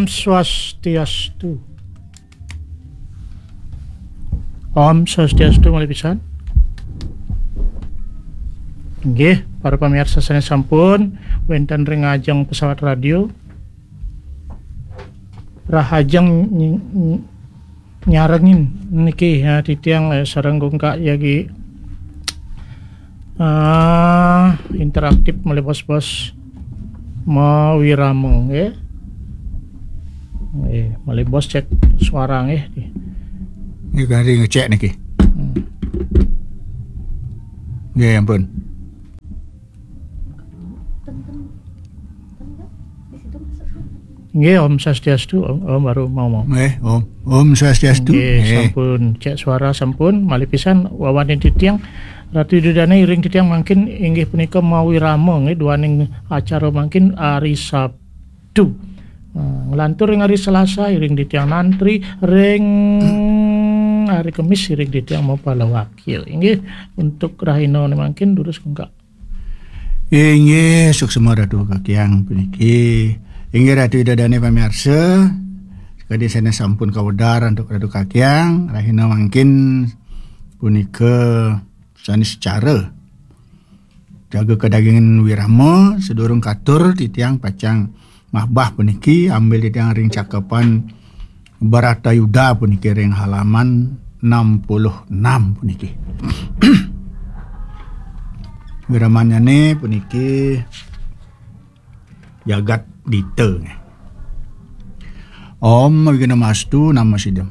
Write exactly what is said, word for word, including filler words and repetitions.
Swastiastu. Om Swastiastu malih pisan. Nggih, para pamirsa sané sampun wénten ring ajeng pesawat radio. Rahajeng ny-, ny-, nyarengin niki, ya, titiang, eh, sareng Kungkak yagi, ah, interaktif malih bos-bos mawirama, nggih. Nggih, malih bos cek suara nggih. Ini kari ngecek niki. Hmm. Nggih, ampun. Nggih, Om Swastiastu, Om, Om baru mau mau. Nggih, Om. Om Swastiastu. Nggih, Nggih. Sampun cek suara sampun, malih pisan wawanin titiang Ratu Ida Dané iring titiang mangkin inggih punika mawirama nggih duaning acara mangkin ari Sabtu. Nah, nglantur ring ari Selasa iring titiang nantri, ring ari Kemis iring titiang mapalawakil. Inggih, untuk rahina mangkin durus Kungkak. Inggih, suksma Ratu Kakyang puniki. Inggih Ratu Ida Dané pamirsa, sakadi sané sampun kawedar antuk Ratu Kakyang, rahina mangkin punika sané secara jaga kadagingan wirama, sadurung katur titiang pacang mahbah puniki ambil titiang ring cakepan Bharatayuddha puniki ring halaman enam puluh enam puniki. Wiramannyané puniki Jagat Dita. Om Wignamastu Namo Siddham.